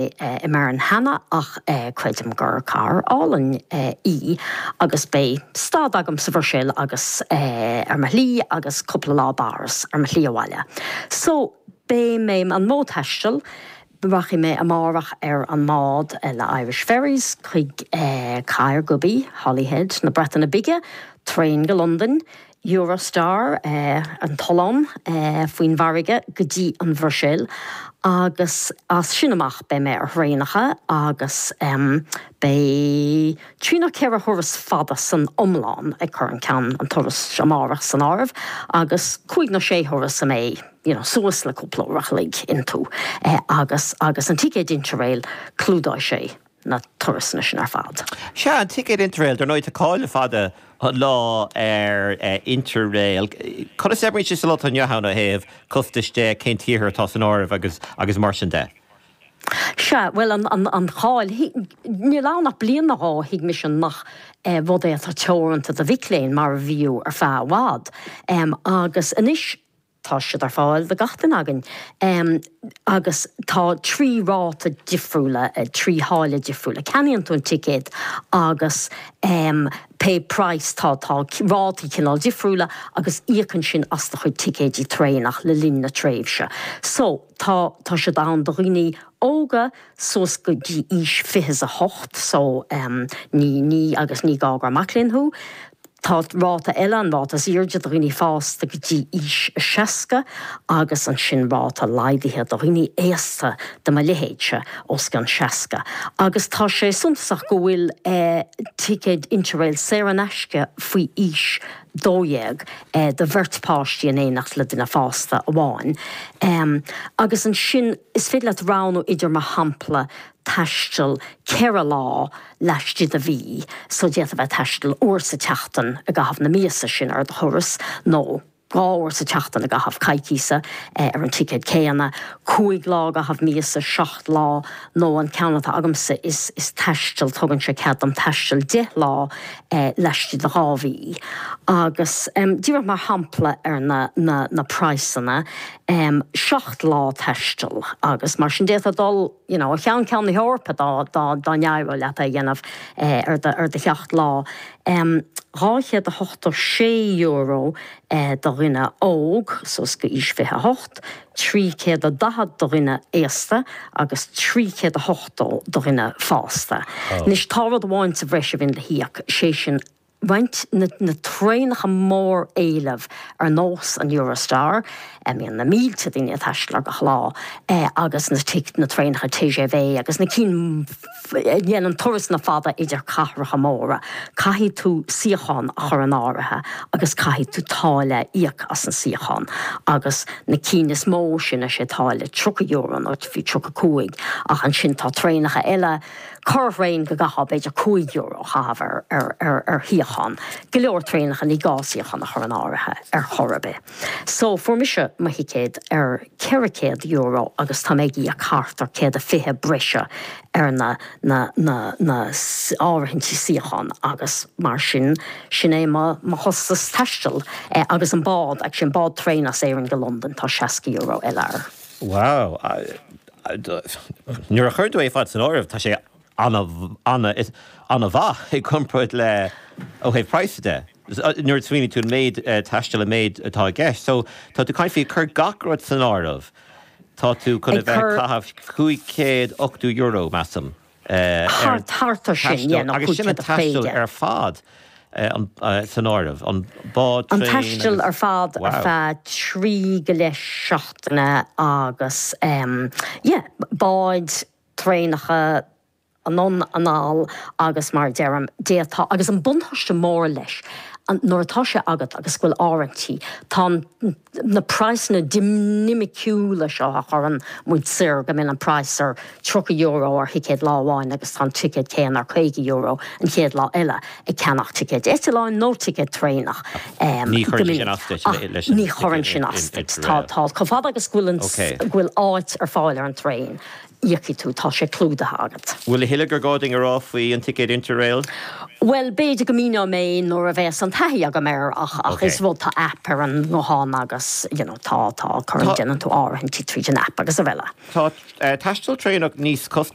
i mBeirn cheana ach creidim gur cathair álainn í agus beidh stad agam sa Bhruiséil agus ar mo shlí agus cúpla lá i bPáras ar mo shlí abhaile. So, beidh mé, an modh taistil, rachaidh mé amárach ar an mbád le Irish Ferries chuig Caergybi, Holyhead na Breataine Bige, traein go Londain, Eurostar, an tollán faoin bhfarraige go dtí an Bhruiséil agus as sin amach beidh mé ar thraenacha agus beidh trí nó ceithre thuras fada san iomlán, ag cur an ceann, an turas amárach san áireamh, agus cúig nó sé thuras a mbeidh you know suas le cúpla uair a chloig iontu agus agus an ticéad Interrail clúdóidh sé. na turasanna sin ar fad. Sea, an ticéad Interrail, dar ndóigh tá cáil le fada an lá ar Interrail. Conas a oibríonn sé sa lá atá inniu ann ó thaobh costais de, cén tíortha atá san áireamh agus agus mar sin de? Sea, bhuel an an an cháil, níl ann ach bliain nó dhó, thuig mise nach rud é atá teoranta do mhic léinn mar a bhíodh ar feadh i bhfad. Agus anois, Tá siad ar fáil do gach duine againn agus tá 3 ráta difriúla, 3 tháille difriúla. Ceannaíonn tú an ticéad agus pé praghas, tá tá rátaí cineál difriúla agus íocann sin as do chuid ticéidí traenach le linn na tréimhse. So, tá tá siad ann do dhaoine óga suas go dtí aois 28 so ní ní agus ní gá gur mac léinn thú. Tá ráta eile, an ráta is airde, do dhaoine fásta go dtí aois 60 agus ansin ráta laghdaithe do dhaoine aosta de mo leithéidse, os cionn 60. Agus tá sé suntasach go bhfuil ticéid Interrail saor in aisce faoi aois 12 do bheirt páistí in éineacht le duine fásta amháin. Agus ansin is féidir leat roghnú idir, mar shampla, taisteal 4 lá laistigh de mhí, so d'fhéadfá bheith ag taisteal uair sa tseachtain i gcaitheamh na míosa sin ar do thuras, nó 2 uair sa tseachtain i gcaitheamh coicíse ar an ticéad céanna, 5 lá i gcaitheamh míosa, 7 lá, nó an ceann atá agamsa is is taisteal, tugann sé cead dom taisteal 10 lá laistigh de 2 mhí. Agus díreach mar shampla ar na na na praghsanna, 7 lá taistil agus mar sin d'fhéadfá dul, you know, ó cheann ceann na hEorpa dá, dá, dá n-éireodh leat é a dhéanamh ar do, ar do sheacht lá. €286 do dhuine óg suas go aois 28, 340 do dhuine aosta agus 380 do dhuine fásta. Anois tá rud amháin sa bhreis a bhíonn le híoc, sé sin roinnt na na traenacha mór-éilimh ar nós an Eurostar, a mbíonn na mílte daoine ag taisteal air gach lá, agus na na traenacha TGV agus na cinn a dhéanann turasanna fada idir cathracha móra, caithfidh tú suíochán a chur in áirithe agus caithfidh tú táille a íoc as an suíochán agus na cinn is mó sin is é táille €30 nó fiú 35 ach ansin tá traenacha eile Corrthraein go gcaithfeá b'fhéidir €5 a chaitheamh ar shuíochán. Go leor traenacha ní gá suíochán a chur in áirithe ar chor ar bith. So fuair mise mo thicéad ar €400 agus tá mé ag íoc thart ar 120 breise ar na na na na áirithintí suíochán agus mar sin sin é mo mo chostas taistil agus an bád actually an bád traein as Éirinn go Londain tá €60 eile air. Wow. Nuair a chuireann tú é ar fad san áireamh, tá sé an-mhaith i gcomparáid le ó thaobh praghasa de. Nuair a smaoiníonn tú an méid taistil, an méid atá i gceist. So, tá tú ag caint faoi ag cur gach rud san áireamh, tá tú chun a bheith ag caitheamh €580, measaim. ar Thart ar sin, yeah, nó Agus sin an taisteal ar fad san áireamh, an bád, traein agus. An taisteal ar fad ar feadh trí go leith seachtaine agus yeah, báid, traenacha, anonn anall agus mar a deirim, d'fhéadfá, agus an buntáiste mór leis, nuair atá sé agat agus go bhfuil áirithintí, tá an, na praghsanna dinimiciúla seo a chuireann muid soir, go mbíonn an praghas ar €30 ar thicéad lá amháin agus tá an ticéad céanna ar €50 an chéad lá eile, ag ceannach ticéid eitleáin nó ticéad traenach Ní go chuireann sé sin minic. as duit Ach leis an ní chuireann sin as duit. Tá, tá, chomh fada agus go bhfuil an, go bhfuil áit ar fáil ar an traein. íocfaidh tú, tá sé clúdaithe agat. Bhfuil a thuilleadh gur gá dúinn a rá faoi an ticéad Interrail? Bhuel, b'fhéidir go míneoidh mé nuair a bheas an taithí agam air ach ach is rud, tá aip ar an nguthán agus you know tá, tá, cuireann, déanann tú áirithintí tríd an aip agus araile. Tá taisteal traenach níos costasaí.